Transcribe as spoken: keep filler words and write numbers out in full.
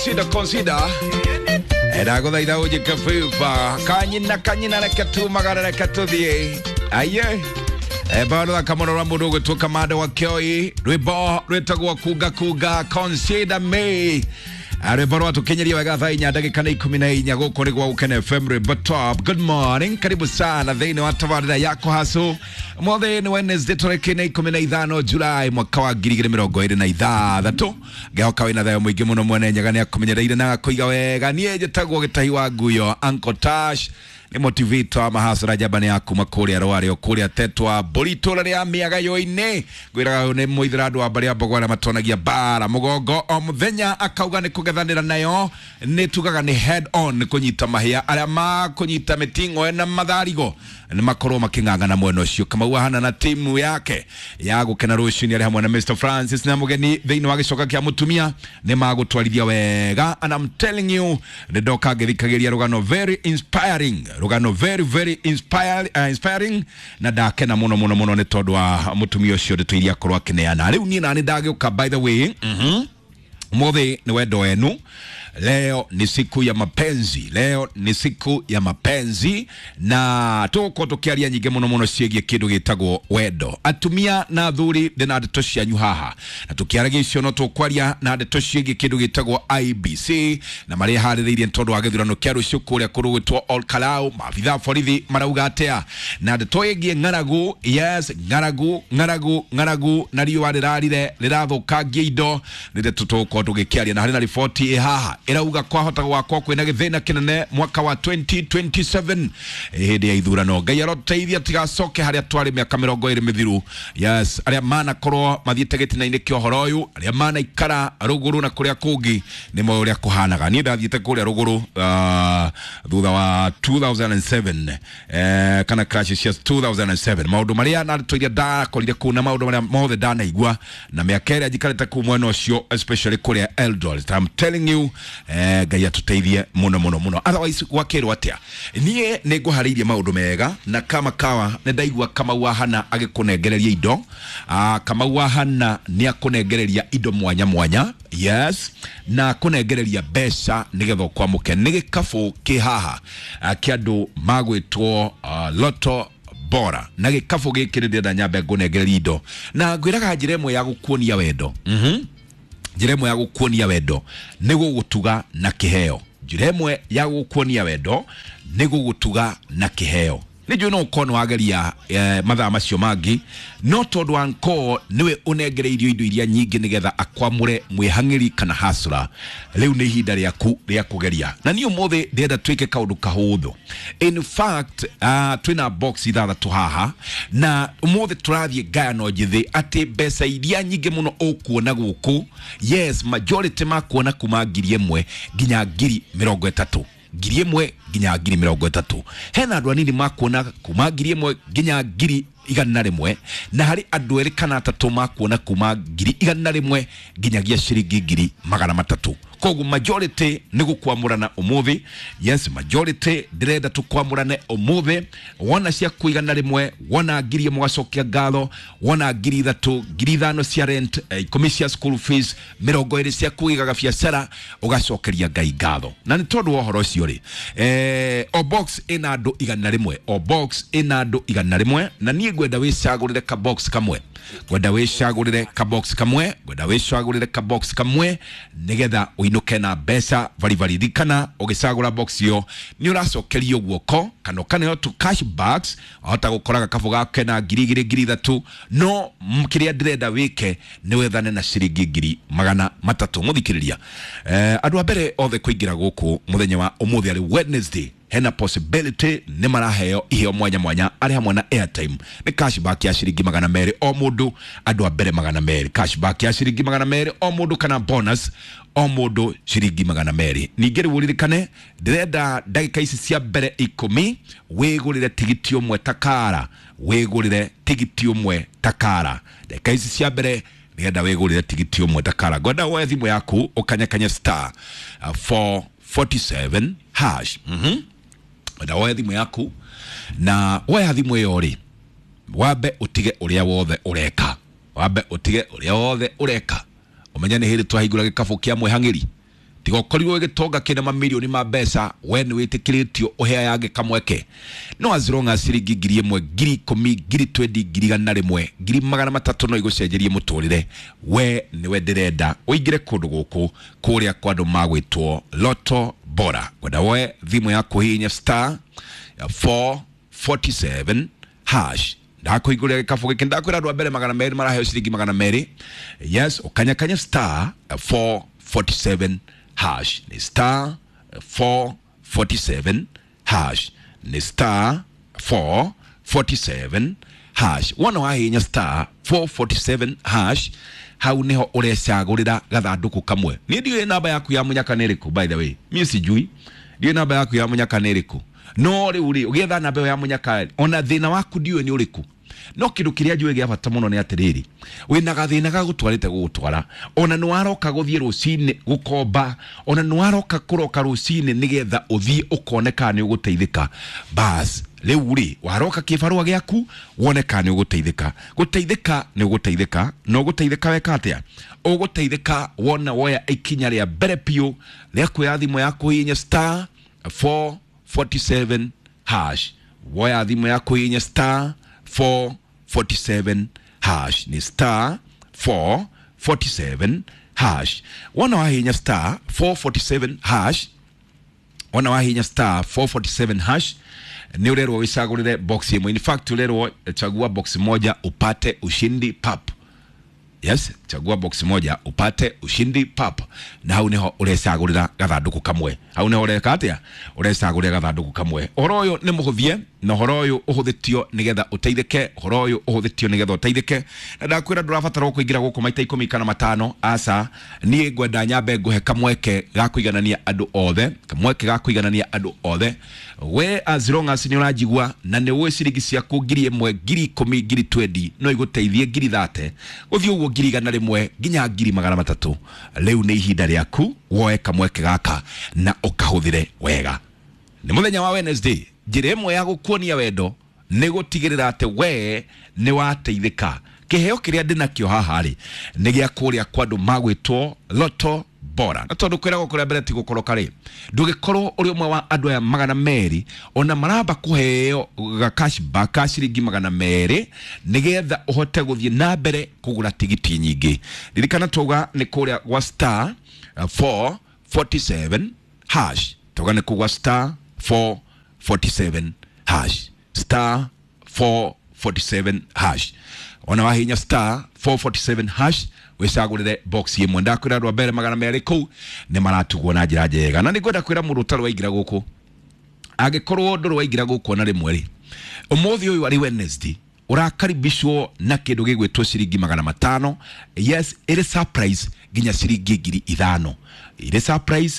Consider, consider. Ndagũthaitha ũnjĩke favor. Kanyina kanyina reke tumagare reke tũthiĩ. Aye. Bado akamona rwa mũndũ ũgwĩtwo Kamande wa Kĩoi, rwĩmbo rwĩtagwo kunga kunga, consider me. Rwĩmbo rwatũkinyiria wega thaa inya ndagĩka nĩ ikũmi na inya gũkũ nĩ gwa Gũkena F M rwĩmbo top. Good morning, karibu sana thĩinĩ wa tabarĩra ya Kũhacũ. Ũmũthĩ nĩ Wednesday tarĩki nĩ ikũmi na ithano July mwaka wa ngiri igĩrĩ mĩrongo ĩrĩ na ithathatũ. Ngĩhoka wĩna thayũ mũingĩ mũno, mwene Nyaga nĩ akũmenyereire na agakũiga wega. Niĩ njĩtagwo Gĩtahi wa Nguyo, Uncle Tash nĩ motivator wa mahasara njamba nĩ ya kuma kũrĩa Rwarĩo kũrĩa Tetwa mbũri itũra rĩa Mĩagayo-inĩ. Ngwĩraga nĩ mũithĩra andũ a mbarĩ ya Mbogo arĩa matonagia mbara mũgongo o mũthenya, akauga nĩ kũgethanĩra nayo, nĩ tugaga nĩ head on, nĩ kũnyita mahĩa arĩa makũnyita mĩting'oe na matharigo nĩ makorwo makĩng'ang'ana mwena ũcio. Kamau ahana na timu yake ya gũkena rũcinĩ arĩ hamwe na Mister Francis na mũgeni thĩinĩ wa gĩcoka kĩa mũtumia nĩ magũtwarithia wega, and I'm telling you nĩ ndoka ngĩthikagĩria rũgano very inspiring, rũgano very very inspire, uh, inspiring na ndakena mũno mũno mũno nĩ tondũ wa mũtumia ũcio ndeto iria akorwo akĩneana. Rĩu niĩ nani ndagĩũka, by the way, mhm ũmũthĩ nĩ wendo wenu. Leo ni siku ya mapenzi, leo ni siku ya mapenzi, na tũgũkorwo tũkĩaria nyingĩ mũno mũno ciĩgiĩ kĩndũ gĩtagwo wendo. Atumia na athuri ndĩ ndeto cianyu haha, na tũkĩaragia icio no tũkwaria na ndeto ciĩgiĩ kĩndũ gĩtagwo I B C na marĩa harĩrĩirie nĩ tondũ wa gĩthurano kĩa rũciũ kũrĩa kũndũ gwĩtwo Ol Kalou. Maabitha a borithi marauga atĩa na ndeto ĩgiĩ ng'aragu? Yes, ng'aragu, ng'aragu, ng'aragu na riũa rĩrarire rĩrathũkangia indo, nĩ ndeto tũgũkorwo tũgĩkĩaria. Na harĩ na riboti ĩ haha ĩrauga kwahota gwakwo kwĩna gĩthĩna kĩnene mwaka wa twenty twenty-seven hĩndĩ ya ithurano. Ngai aroteithia tigacoke harĩa twarĩ mĩaka mĩrongo ĩrĩ mĩthiru. Yes, arĩa manakorwo mathiĩte gĩtina-inĩ kĩa ũhoro ũyũ, arĩa manaikara rũgũrũ na kũrĩa kũngĩ nĩ moĩ ũrĩa kũhanaga. Niĩ ndathiĩte kũrĩa rũgũrũ uh, thutha wa two thousand seven, eh, kana crash cia two thousand seven, maũndũ marĩa na ndeto iria ndakorire kũu na maũndũ marĩa mothe ndanaigua na mĩaka ĩrĩa njikarĩte kũu mwena ũcio, especially kũrĩa Eldoret. I'm telling you, eh, Ngai atũteithie mũno mũno mũno. Otherwise gwakĩrwo atĩa? Niĩ nĩ ngũharĩirie maũndũ mega na kama kawa nĩ ndaigua Kamau ahana agĩkũnengereria indo. Ah, Kamau ahana nĩ akũnengereria indo mwanya mwanya. Yes, na kũnengereria mbeca nĩgetha ũkwamũke. Nĩ gĩkabũ kĩ haha kĩa andũ magwĩtwo uh, Lotto Bora, na gĩkabũ gĩkĩ nĩ ndĩrenda nyambe ngũnengereria indo, na ngwĩraga njĩra ĩmwe ya gũkuonia wendo. Mhm njĩra ĩmwe ya gũkuonia wendo nĩ gũgũtuga na kĩheo. Njĩra ĩmwe ya gũkuonia wendo nĩ gũgũtuga na kĩheo. Nĩ njũĩ no ũkorwo nĩ wageria eh, mathaa macio mangĩ, no tondũ wa nkoo nĩwe ũnengereirio indo iria nyingĩ nĩgetha akwamũre mwĩhang'ĩri kana hasra. Rĩu nĩ ihinda rĩaku rĩa kũgeria, na niĩ ũmũthĩ ndĩrenda twĩke kaũndũ kahũthũ. In fact, uh, twĩna box ithathatũ haha, na ũmũthĩ tũrathiĩ ngayano njĩthĩ atĩ mbeca iria nyingĩ mũno ũkuona gũkũ, yes, majority makuona kuma ngiri ĩmwe nginya ngiri mĩrongo ĩtatũ, ngiri ĩmwe nginya ngiri mĩrongo ĩtatũ. Hena andũ anini makuona kuma ngiri ĩmwe nginya ngiri igana rĩmwe, na harĩ andũ erĩ kana atatũ makuona kuma ngiri igana rĩmwe nginyagia ciringi ngiri magana matatũ. Koguo majority nĩ gũkwamũrana ũmũthĩ. Yes, majority ndĩrenda tũkwamũrane ũmũthĩ. Wona ciaku igana rĩmwe, wona ngiri ĩmwe ũgacokia ngatho, wona ngiri ithatũ, ngiri ithano cia rent, eh, ikũmi cia school fees, mĩrongo ĩrĩ cia kũigaga biacara, ũgacokeria Ngai ngatho. Na nĩ tondũ wa ũhoro ũcio rĩ, eh, o box ĩna andũ igana rĩmwe, o box ĩna andũ igana rĩmwe, na niĩ ngwenda wĩcagũrĩre ka box kamwe, ngwenda wĩcagũrĩre ka box kamwe, ngwenda wĩcagũrĩre ka box kamwe nĩgetha ũinũke na mbeca baribari. Ririkana ũgĩcagũra box ĩyo nĩ ũracokerio guoko kana ũkaneo tu cash bags, wahota gũkora gakabũ gake na ngiri igĩrĩ ngiri ithatũ, no kĩrĩa ndĩrenda wĩke nĩ wethane na ciringi ngiri magana matatũ. Mũthikĩrĩria, eh, andũ a mbere othe kũingĩra gũkũ mũthenya wa ũmũthĩ arĩ Wednesday, hena possibility nĩ maraheo iheo mwanya mwanya arĩ hamwe na airtime. Nĩ cashback ya ciringi magana merĩ o mũndũ, andũ a mbere magana merĩ, cashback ya ciringi magana merĩ o mũndũ, kana bonus o mũndũ ciringi magana merĩ. Ningĩ rĩu ũririkane ndĩrenda ndagĩka ici cia mbere ikũmi wĩgũrĩre tigiti ũmwe takara, wĩgũrĩre tigiti ũmwe takara. Ndagĩka ici cia mbere ndĩrenda wĩgũrĩre tigiti ũmwe takara. Ngwenda woe thimũ yaku ũkanyakanye star uh, four forty-seven hash. Mhm na woe thimũ yaku, na woya thimũ ĩyo rĩ, wambe ũtige ũrĩa wothe ũreka, wambe ũtige ũrĩa wothe ũreka, ũmenye nĩ hĩndĩ twahingũra gĩkabũ kĩa mwĩhang'ĩri. Tiga ũkorirwo gĩtonga kĩna mamirioni ma mbeca, we nĩ wĩtĩkĩrĩtio ũheange kamweke. No as long as ciringi ngiri ĩmwe, ngiri ikũmi, ngiri twendi, ngiri igana rĩmwe, ngiri magana matatũ no igũcenjerie mũtũrĩre, we nĩwe ndĩrenda ũingĩre kũndũ gũkũ kũrĩa kwa andũ magwĩtwo Loto Bora. Ngwenda woe thimũ yaku hihinya star four forty-seven hash. Ndakũhingũrĩra gĩkabũ gĩkĩ, ndakwĩra andũ a mbere magana merĩ maraheo ciringi magana merĩ. Yes, ũkanyakanya star four forty-seven hash, nĩ star four forty-seven hash, nĩ star four forty-seven hash. Wona wahihinya star four forty-seven hash, hau niho ũrecagũrĩra gathandũkũ kamwe. Niĩ ndiũĩ namba yaku ya mũnyaka nĩ ĩrĩkũ, by the way niĩ sijui, ndiũĩ namba yaku ya mũnyaka nĩ ĩrĩkũ. No rĩu rĩ, ũgĩetha namba ĩyo ya mũnyaka, ona thĩna waku ndiũĩ nĩ ũrĩkũ. No kĩndũ kĩrĩa njũĩ gĩa bata mũno nĩ atĩrĩrĩ, wĩna gathĩna gagũtwarĩte gũgũtwara, ona nĩ waroka gũthiĩ rũcinĩ gũkomba, ona nĩ waroka kũroka rũcinĩ nĩgetha ũthiĩ ũkone kana nĩ ũgũteithĩka. Bas rĩu rĩ, waroka kĩbarũa gĩaku wone kana nĩ ũgũteithĩka. Gũteithĩka nĩ ũgũteithĩka, na ũgũteithĩka weka atĩa? Ũgũteithĩka wona woya ikinya rĩa mbere biũ rĩa kuoya thimũ yaku hihinya star four forty-seven hash. Woya thimũ yaku hihinya star four forty-seven hash, nĩ star four forty-seven hash. Wona wahihinya star four forty-seven hash, wona wahihinya star four forty-seven hash, nĩ ũrerwo wĩcagũrĩre box ĩmwe. In fact ũrerwo chagua box moja upate ushindi pap. Yes, chagua box moja upate ushindi pap. Na hau niho ũrecagũrĩra gathandũkũ kamwe. Hau niho ũreka atĩa? Ũrecagũrĩra gathandũkũ kamwe. Ũhoro ũyũ nĩ mũhũthie, na ũhoro ũyũ ũhũthĩtio nĩgetha ũteithĩke, ũhoro ũyũ ũhũthĩtio nĩgetha ũteithĩke. Na ndakwĩra ndũrabatara kũingĩra gũkũ maita ikũmi kana matano, aca. Niĩ ngwenda nyambe ngũhe kamweke ga kũiganania andũ othe, kamweke ga kũiganania andũ othe. We as long as nĩ ũranjigua na nĩ ũĩ ciringi ciaku ngiri ĩmwe, ngiri ikũmi, ngiri twendi no igũteithie ngiri thate, gũthiĩ ũguo ngiri igana rĩmwe nginya ngiri magana matatũ. Rĩu nĩ ihinda rĩaku woe kamweke gaka na ũkahũthĩre wega. Nĩ mũthenya wa Wednesday, njĩra ĩmwe ya gũkuonia wendo nĩ gũtigĩrĩra atĩ we nĩ wateithĩka. Kĩheo kĩrĩa ndĩnakĩo haha rĩ, nĩ gĩa kũrĩa kwa andũ magwĩtwo Loto Bora. Na tondũ kwĩragwo kũrĩa mbere ti gũkoroka rĩ, ndũgĩkorwo ũrĩ ũmwe wa andũ aya magana merĩ ona maramba kũheo ga cashback ka ciringi magana merĩ nĩgetha ũhote gũthiĩ na mbere kũgũra tigiti nyingĩ. Ririkana twauga nĩ kũrĩa gwa star four forty-seven hash. Twauga nĩ kũgwa star four forty-seven hash, star four forty-seven hash. Ona wahinya star four forty-seven hash wicagũrĩre box ĩmwe. Ndakwĩra andũ a mbere magana merĩ kũu nĩ maratugwo na njĩra njega. Na nĩngwenda kwĩra mũndũ ũtarĩ waingĩra gũkũ, angĩkorwo ndũrĩ waingĩra gũkũ ona rĩmwe rĩ, ũmũthĩ ũyũ arĩ Wednesday ũrakaribishwo na kĩndũ gĩgwĩtwo ciringi magana matano. Yes, ĩrĩ surprise nginya ciringi ngiri ithano, ĩrĩ surprise.